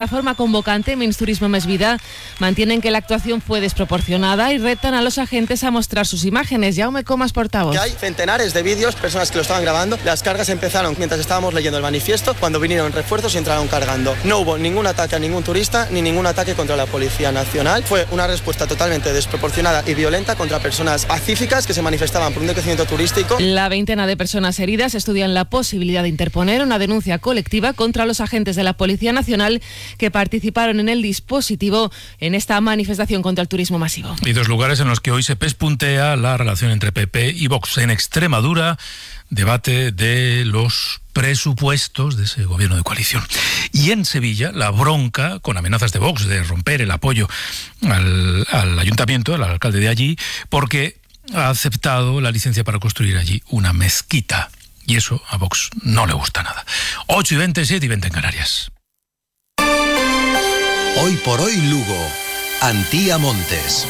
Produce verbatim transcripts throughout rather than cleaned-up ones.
La forma convocante, Mins Turismo Més Vida, mantienen que la actuación fue desproporcionada y retan a los agentes a mostrar sus imágenes. Jaume Comas, portavoz. Que hay centenares de vídeos, personas que lo estaban grabando. Las cargas empezaron mientras estábamos leyendo el manifiesto, cuando vinieron refuerzos y entraron cargando. No hubo ningún ataque a ningún turista ni ningún ataque contra la Policía Nacional. Fue una respuesta totalmente desproporcionada y violenta contra personas pacíficas que se manifestaban por un decrecimiento turístico. La veintena de personas heridas estudian la posibilidad de interponer una denuncia colectiva contra los agentes de la Policía Nacional que participaron en el dispositivo en esta manifestación contra el turismo masivo. Y dos lugares en los que hoy se pespuntea la relación entre P P y Vox. En Extremadura, debate de los presupuestos de ese gobierno de coalición. Y en Sevilla, la bronca con amenazas de Vox de romper el apoyo al, al ayuntamiento, al alcalde de allí, porque ha aceptado la licencia para construir allí una mezquita. Y eso a Vox no le gusta nada. ocho y veinte, siete y veinte en Canarias. Hoy por hoy Lugo, Antía Montes.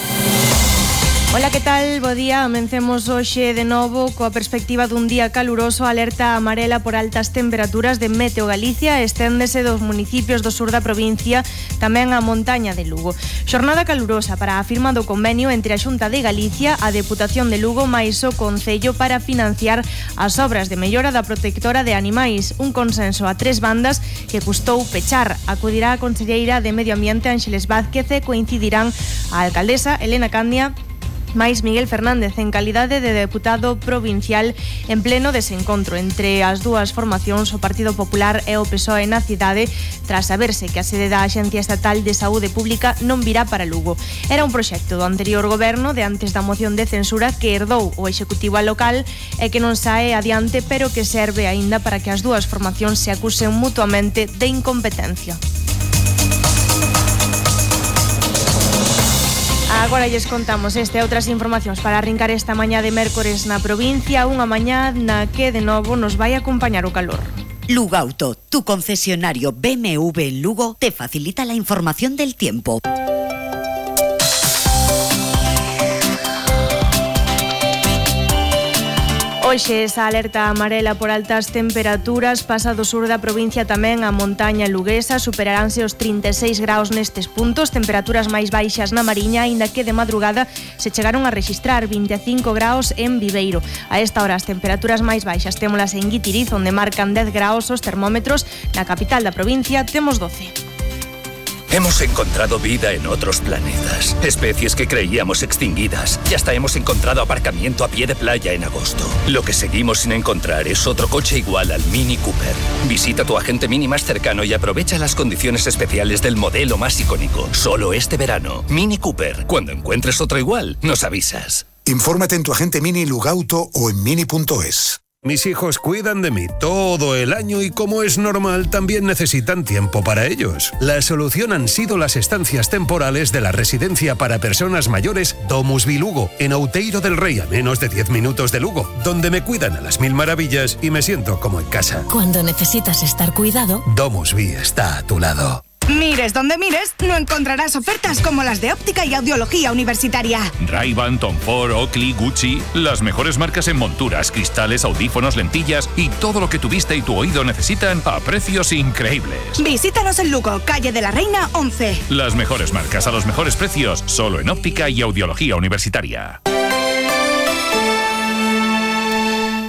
Ola, que tal? Bo día. Amencemos hoxe de novo coa perspectiva dun día caluroso. Alerta amarela por altas temperaturas de Meteo Galicia esténdese dos municipios do sur da provincia, tamén a montaña de Lugo. Xornada calurosa para a firma do convenio entre a Xunta de Galicia, a Deputación de Lugo máis o Concello para financiar as obras de mellora da protectora de animais. Un consenso a tres bandas que custou pechar. Acudirá a conselleira de Medio Ambiente Ángeles Vázquez e coincidirán a alcaldesa Elena Candia máis Miguel Fernández en calidade de deputado provincial en pleno desencontro entre as dúas formacións, o Partido Popular e o P S O E na cidade, tras saberse que a sede da Axencia Estatal de Saúde Pública non virá para Lugo. Era un proxecto do anterior goberno de antes da moción de censura que herdou o Executivo local e que non sae adiante, pero que serve aínda para que as dúas formacións se acusen mutuamente de incompetencia. Agora lles contamos este e outras informacións para arrincar esta mañá de mércores na provincia, unha mañá na que de novo nos vai acompañar o calor. Lugauto, tu concesionario B M W en Lugo, te facilita la información del tiempo. Hoxe esa alerta amarela por altas temperaturas pasa do sur da provincia tamén a montaña luguesa, superaránse os trinta e seis graus nestes puntos, temperaturas máis baixas na Mariña, aínda que de madrugada se chegaron a rexistrar vinte e cinco graus en Viveiro. A esta hora as temperaturas máis baixas témolas en Guitiriz, onde marcan dez graus os termómetros, na capital da provincia temos doce. Hemos encontrado vida en otros planetas, especies que creíamos extinguidas y hasta hemos encontrado aparcamiento a pie de playa en agosto. Lo que seguimos sin encontrar es otro coche igual al Mini Cooper. Visita tu agente Mini más cercano y aprovecha las condiciones especiales del modelo más icónico. Solo este verano. Mini Cooper. Cuando encuentres otro igual, nos avisas. Infórmate en tu agente Mini Lugauto o en mini punto es. Mis hijos cuidan de mí todo el año y, como es normal, también necesitan tiempo para ellos. La solución han sido las estancias temporales de la residencia para personas mayores Domusvi Lugo, en Outeiro del Rey, a menos de diez minutos de Lugo, donde me cuidan a las mil maravillas y me siento como en casa. Cuando necesitas estar cuidado, Domusvi está a tu lado. Mires donde mires, no encontrarás ofertas como las de óptica y audiología universitaria. Ray-Ban, Tom Ford, Oakley, Gucci, las mejores marcas en monturas, cristales, audífonos, lentillas y todo lo que tu vista y tu oído necesitan a precios increíbles. Visítanos en Lugo, calle de la Reina once. Las mejores marcas a los mejores precios, solo en óptica y audiología universitaria.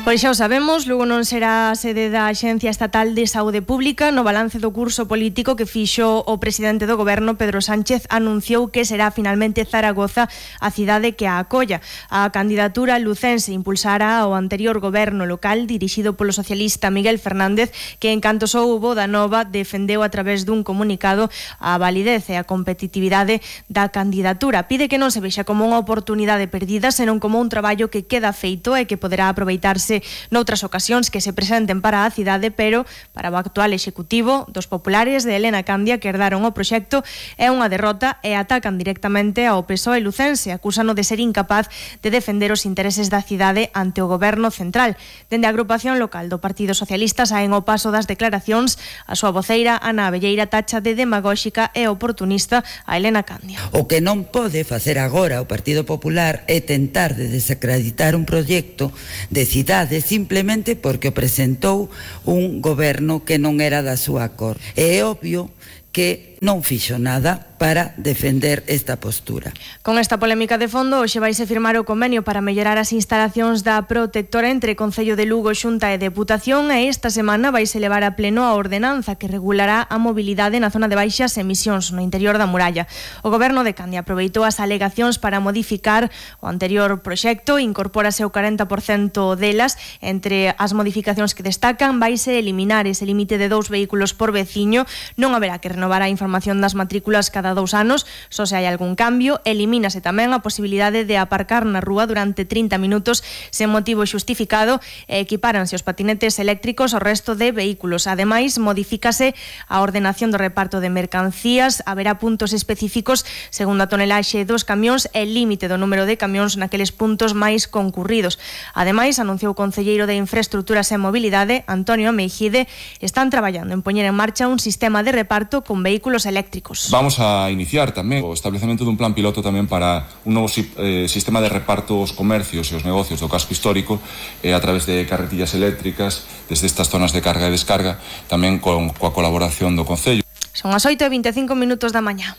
Pois xa o sabemos, Lugo non será a sede da Axencia Estatal de Saúde Pública. No balance do curso político que fixo o presidente do goberno, Pedro Sánchez, anunciou que será finalmente Zaragoza a cidade que a acolla. A candidatura lucense impulsará o anterior goberno local dirixido polo socialista Miguel Fernández, que en canto soubo da nova defendeu a través dun comunicado a validez e a competitividade da candidatura. Pide que non se vexa como unha oportunidade perdida, senón como un traballo que queda feito e que poderá aproveitarse noutras ocasións que se presenten para a cidade, pero para o actual executivo dos populares de Elena Candia, que herdaron o proxecto, é unha derrota e atacan directamente ao P S O E lucense, acúsano de ser incapaz de defender os intereses da cidade ante o goberno central. Dende a agrupación local do Partido Socialista saen ao paso das declaracións a súa voceira Ana Abelleira tacha de demagóxica e oportunista a Elena Candia. O que non pode facer agora o Partido Popular é tentar de desacreditar un proxecto de cidade simplemente porque o presentou un goberno que non era da súa cor. É obvio que non fixo nada para defender esta postura. Con esta polémica de fondo, hoxe vaise firmar o convenio para mellorar as instalacións da protectora entre Concello de Lugo, Xunta e Deputación, e esta semana vaise levar a pleno a ordenanza que regulará a mobilidade na zona de baixas emisións no interior da muralla. O Goberno de Candia aproveitou as alegacións para modificar o anterior proxecto, incorpórase o corenta por cento delas. Entre as modificacións que destacan, vaise eliminar ese límite de dous vehículos por veciño, non haberá que renovar a información das matrículas cada dous anos, só se hai algún cambio. Elimínase tamén a posibilidade de aparcar na rúa durante trinta minutos sen motivo xustificado e equipáranse os patinetes eléctricos ao resto de vehículos. Ademais, modifícase a ordenación do reparto de mercancías, haberá puntos específicos segundo a tonelaxe dos camións e límite do número de camións naqueles puntos máis concurridos. Ademais, anunciou o concelleiro de Infraestructuras e Mobilidade, Antonio Meijide, están traballando en poñer en marcha un sistema de reparto con vehículos eléctricos. Vamos a iniciar tamén o establecemento dun plan piloto tamén para un novo eh, sistema de reparto aos comercios e os negocios do casco histórico eh, a través de carretillas eléctricas desde estas zonas de carga e descarga, tamén con, coa colaboración do Concello. Son as oito e veinticinco minutos da mañá.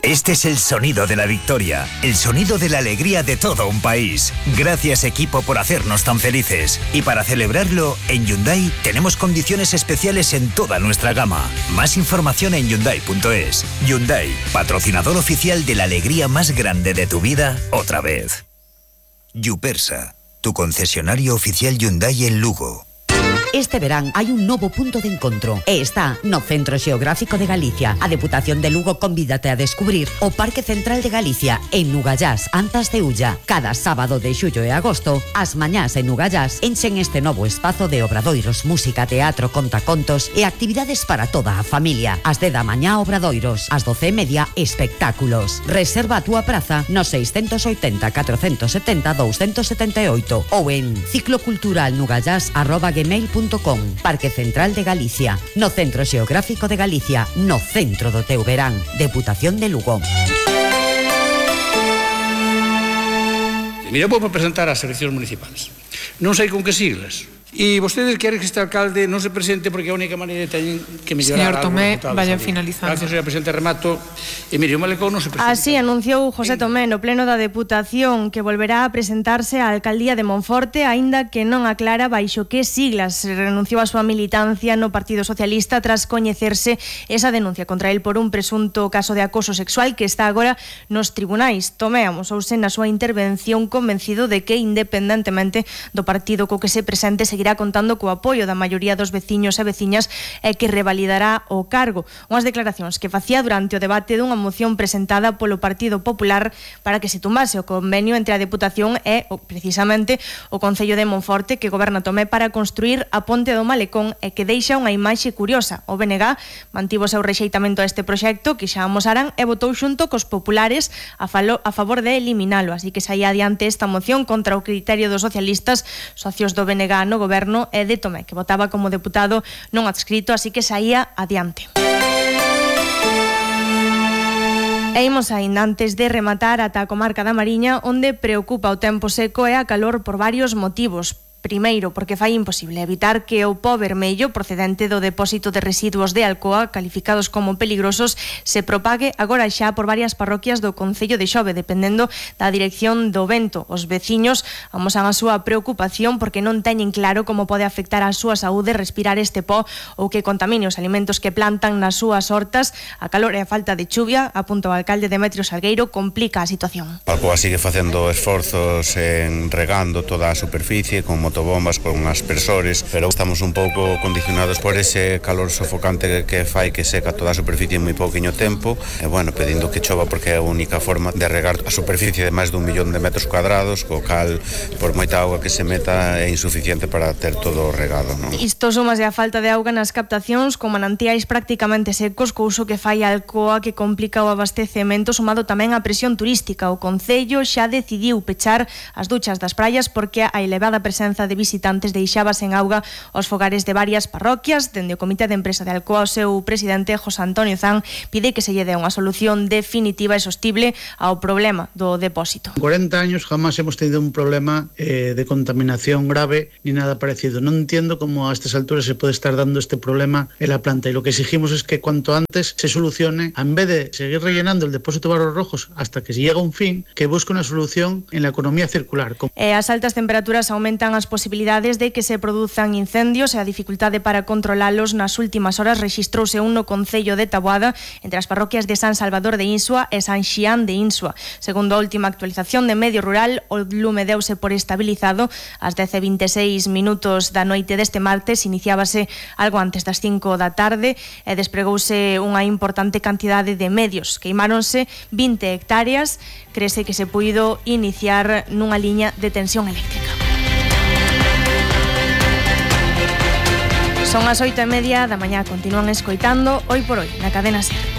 Este es el sonido de la victoria, el sonido de la alegría de todo un país. Gracias, equipo, por hacernos tan felices. Y para celebrarlo, en Hyundai tenemos condiciones especiales en toda nuestra gama. Más información en Hyundai punto es. Hyundai, patrocinador oficial de la alegría más grande de tu vida, otra vez. Yupersa, tu concesionario oficial Hyundai en Lugo. Este verán hai un novo punto de encontro e está no Centro Xeográfico de Galicia. A Deputación de Lugo convídate a descubrir o Parque Central de Galicia en Nugallás, Antas de Ulla. Cada sábado de xullo e agosto, as mañás en Nugallás enchen este novo espazo de obradoiros, música, teatro, contacontos e actividades para toda a familia. As de da mañá obradoiros, as doce e media espectáculos. Reserva a túa praza no seiscentos oitenta, catrocentos setenta, doscientos setenta e oito ou en cicloculturalnugallás arroba gmail punto com. Parque Central de Galicia, no Centro Xeográfico de Galicia, no centro do teu verán. Deputación de Lugo. Mira, vou presentar as eleccións municipales. Non sei con que siglas. E vostedes queren que este alcalde non se presente porque a única maneira que teñen que mellorar. Señor Tomé, vayan finalizando. Gracias, señora Presidente, remato. E mire, o Malecón non se presenta. Así anunciou José Tomé no pleno da Deputación que volverá a presentarse á alcaldía de Monforte, aínda que non aclara baixo que siglas. Renunciou a súa militancia no Partido Socialista tras coñecerse esa denuncia contra el por un presunto caso de acoso sexual que está agora nos tribunais. Tomé amosouse na súa intervención convencido de que, independentemente do partido co que se presente, seguirá contando co apoio da maioría dos veciños e veciñas e que revalidará o cargo. Unhas declaracións que facía durante o debate dunha moción presentada polo Partido Popular para que se tumbase o convenio entre a Deputación e, precisamente, o Concello de Monforte que goberna Tomé para construir a ponte do Malecón e que deixa unha imaxe curiosa. O B N G mantivo o seu rexeitamento a este proxecto que xa amosaran e votou xunto cos populares a, falo, a favor de eliminalo, así que saía adiante esta moción contra o criterio dos socialistas, socios do B N G no goberno e de Tomé, que votaba como deputado non adscrito, así que saía adiante. E imos aínda antes de rematar ata a comarca da Mariña, onde preocupa o tempo seco e a calor por varios motivos. Primeiro, porque fai imposible evitar que o pó vermello procedente do depósito de residuos de Alcoa, calificados como peligrosos, se propague agora xa por varias parroquias do concello de Xove, dependendo da dirección do vento. Os veciños amosan a súa preocupación porque non teñen claro como pode afectar a súa saúde respirar este pó ou que contamine os alimentos que plantan nas súas hortas. A calor e a falta de chuvia, apunta o alcalde Demetrio Salgueiro, complica a situación. Alcoa sigue facendo esforzos en regando toda a superficie con motobombas, con aspersores, pero estamos un pouco condicionados por ese calor sofocante que fai que seca toda a superficie en moi pouquiño tempo, e bueno, pedindo que chova porque é a única forma de regar a superficie de máis dun millón de metros cuadrados, co cal, por moita auga que se meta, é insuficiente para ter todo regado, non? Isto sumas a falta de auga nas captacións con manantiais prácticamente secos, couso que fai a Alcoa que complica o abastecemento, sumado tamén a presión turística. O Concello xa decidiu pechar as duchas das praias porque a elevada presenza chegada de visitantes deixaba sen auga os fogares de varias parroquias. Dende o Comité de Empresa de Alcoa, o seu presidente, José Antonio Zan, pide que se lle dé unha solución definitiva e sostible ao problema do depósito. En cuarenta años jamás hemos tenido un problema eh, de contaminación grave ni nada parecido. No entiendo cómo a estas alturas se puede estar dando este problema en la planta, y lo que exigimos es que cuanto antes se solucione, en vez de seguir rellenando el depósito de barros rojos hasta que se llega a un fin, que busque una solución en la economía circular. E as altas temperaturas aumentan as posibilidades de que se produzan incendios e a dificultade para controlalos. Nas últimas horas rexistrouse un no concello de Taboada entre as parroquias de San Salvador de Insua e San Xián de Insua. Segundo a última actualización de Medio Rural, o lume deuse por estabilizado ás dez e vinte e seis minutos da noite deste martes. Iniciábase algo antes das cinco da tarde e despregouse unha importante cantidade de medios. Queimáronse vinte hectáreas. Crese que se puido iniciar nunha liña de tensión eléctrica. Son as oito e media da mañá. Continúan escoitando Hoy por Hoy na Cadena SER.